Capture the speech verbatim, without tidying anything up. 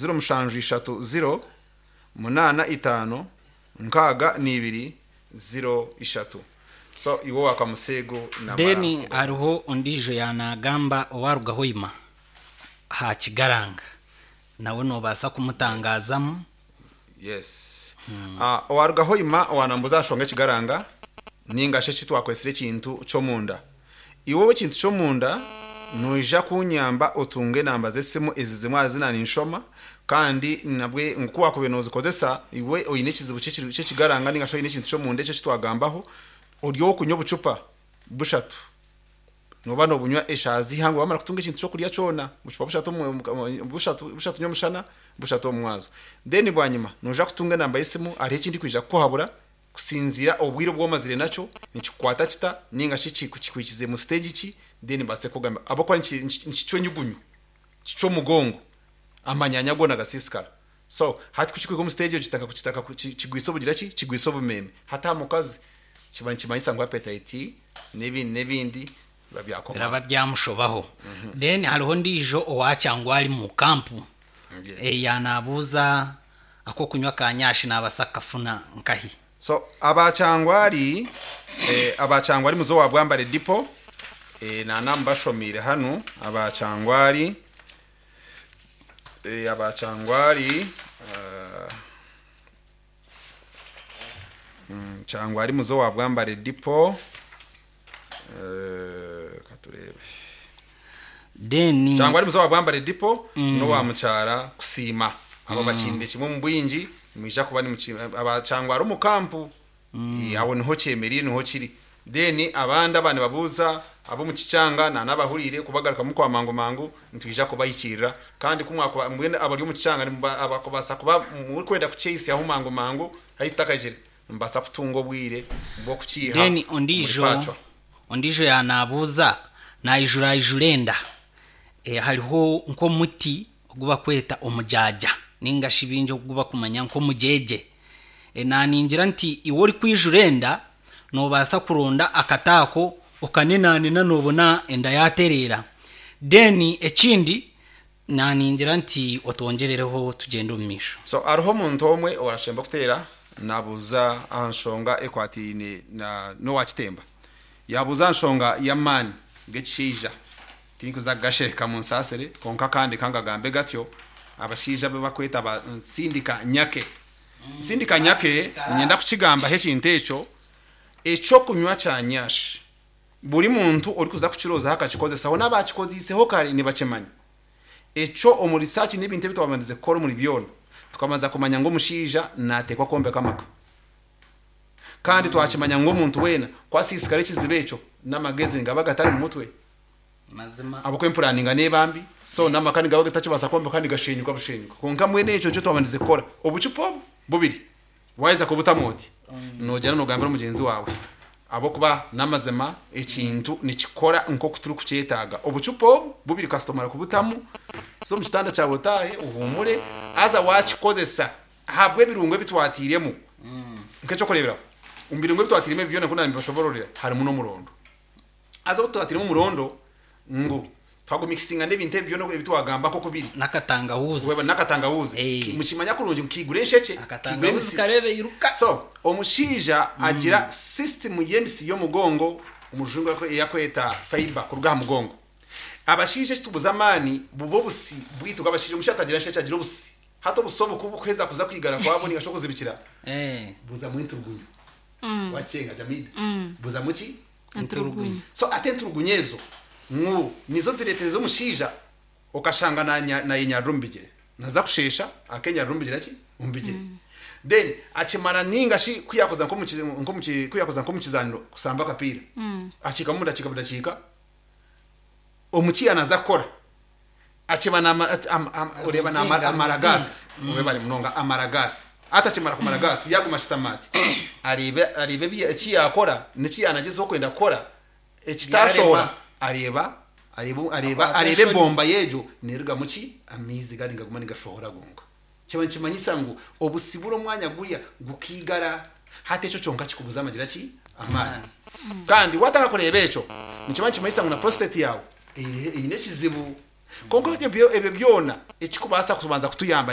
Ziro mushanju ishatu ziro munaana itaano nkaaga n'ibiri ziro ishatu. So iwe wakamuseego. Then hariho ondiijo yanagamba owaruga Hoima ha Kigaranga, nawe nobaasa kumutangazamu. Yes. Ah, owaruga Hoima owanambuza ashonga ekigaranga ninga shi eki twakwesire ekintu ky'omunda. Iwe ekintu ky'omunda, noija kunyamba otunge enamba z'esimu ezi zimwe aha zina ninshoma, kandi nabwe nku wakubaire nozikozesa. Iwe oine ekizibu ky'ekiri- ky'ekigaranga ninga shi oine ekintu ky'omunda ekyo ekitwagambaho, ori okunywa obucupa bushatu, noba nobunywa eshaaha z'ihangwe wamara kutunga ekintu ky'okurya kyona, bucupa bushatu omu- omu- bushatu bushatu nyomushana, bushatu omu mwazo. Then bwanyima noija kutunga enamba y'esimu. Hariho ekindi kwija kukuhabura kusinziira obwire obu omazire nakyo nikikukwata kita ninga shi kikwikize mu stage ki. Then mbaase kugamba ahabw'okuba niki- niki- nikicwa enyugunyu, kicwa omugongo, amanyanya goona gasiisikara. So hati kukikwika omu stage egyo, kitaka kitaka kigwisa obugira ki kigwisa obumeme. Hati aha mukazi kiba nikimanyisa ngu appetite n'ebindi n'ebindi biba byakoma. Biraba byamushobaho. Then hariho ondiijo owakyangwa ari mu kampu. Yes. Eh, yanabuuza akokunywa ka nyashi nabasa kafuna nkahi? So abakyangwari eh, abakyangwari muzo wa Bwambare Dipo, eh, nana mbashomiire hanu abakyangwari, eh, abakyangwari uh, mm, kyangwari muzo wa Bwambare Dipo, eh, katurebe. Then Cyangwa ari muzo wa Bwambare Dipo mm. no wa mucyara kusiima abo bakinde kimwe mu bwingi mwija kuba ni abacyangwa ari umukampu mm. Abo niho cyemerire, niho kiri. Then abandi abandi babuza abo mu kicyanga na nabahurire kubagaruka mu kwa mangu mangu, ntwija kubayikirira. Kandi kumwakuba mbwene abari mu kicyanga abakubasa kuba muri kwenda kuchase aho mangu mangu hayitakajire, mbasa kutunga obwire bwo kukiha. Then ondiijo muri Pacwa. Ondiijo yanabuuza naijura ijurenda, e, hariho nk'omuti ogubakweta omujaja ninga shi bingi ogubakumanya nk'omujeje. e, naningira nti iwe ori kwijura enda nobaasa kuronda akataako okanenanena, nobona enda yatereera. Then ekindi naningira nti otwongerereho tugende omu maisho. So hariho omuntu omwe orashemba kuteera nabuuza aha nshonga ekwatiine na n'owakitemba, yabuuza aha nshonga y'amaani g'ekishaija. Tinkuza kugashereka mu nsasire, konka kandi kangagambe gatyo, abashaija be bakweta ba nsindika nyake, nsindika nyake. Nyenda kukigambaho ekintu ekyo. Ekyokunywa kya nyashi, buri muntu orikuza kukirozaho akakikozesaho n'abakikoziiseho kare nibakimanya ekyo. Omu research n'ebintu ebi twabandije kukora omuri byona, tukamaza kumanya ngu omushaija nateekwa kwombeka amaka, kandi twakimanya ngu omuntu weena kwasiisikara ekizibu ekyo n'amagezi ngaba gatari mu mutwe. Mazima. Abako empuraninga nebambi, so n'amaka nigaba gatakibaasa kwombeka, nigashenyuka bushenyuka. Konka mbwene ekyo nikyo twabandize kukora. Obucupa obu bubiri waheza kubutamu oti nogira nogambira mugenzi wawe, abokuba n'amazima ekintu nikikora nk'oku turi kukyetaaga. Obucupa obu bubiri kastomara kubutamu, so mu kitanda kyawe otaahe uhumure. Aza wakikozesa habwe ebirungo ebitwatiremu, nk'ekyokureeberaho omu birungo ebitwatiremu ebi byona nkuna nibashobororera harimu n'omurondo. Aza otwatiremu omurondo ngu twagumikisinga n'ebintu ebi byona ebitwagamba nk'oku biri. N'akatangawuzi. Weba n'akatangawuzi. Eh. Mukimanya kurungi kigura ensheke, kigura akatangawuzi emisi. Karebe iruka. So omushaija agira system y'emisi y'omugongo, omujungu eyakweta fiber kuruga aha mugongo. Abashaija ekitubuza amaani buba obusi bwitu bw'abashaija. Omushaija atagira nsheke, agira obusi. Hati obusi obu kubukuheza kuza kwigara kwabo ninga shi okuzibikira, Eh, buzamu enturugunyu wacenga jamida, buzamu ki? Enturugunyu. So ate enturugunyu ezo ngu nizo ziretereza omushaija okashanga nayenyarira omu bigere, naza kushesha akenyarira omu bigere ki omu bigere. Then akimara ninga shi kuyakoza nko kuyakoza nko mu kizaniro kusamba akapiira, akiika mu dakiika budakiika omukiya naza kukora akiba nama- ati- am- am- ureba ni Ruzinga, amaragasi ube bari munonga amaragasi. Ati akimara kumara gasi yaguma ashitamati arebe arebe ebi- eki yakora niki yanagezeho kwenda kukora ekitashobora. Yarema. Areba areba areba Akwata areba enshoni. Ebomba yejo neruga muki amaizi gari ngaguma nigashohora gonka. Kiba nikimanyisa ngu obusibura omwanya gurya gukigara. Hati ekyo kyonka kikubuza amagira ki amaani. Kandi watanga kureba ekyo nikiba nikimanyisa ngu na prostate yawe eine eine ekizibu. Konka ebyo ebyo byona ekikubaasa kubanza kutuyamba.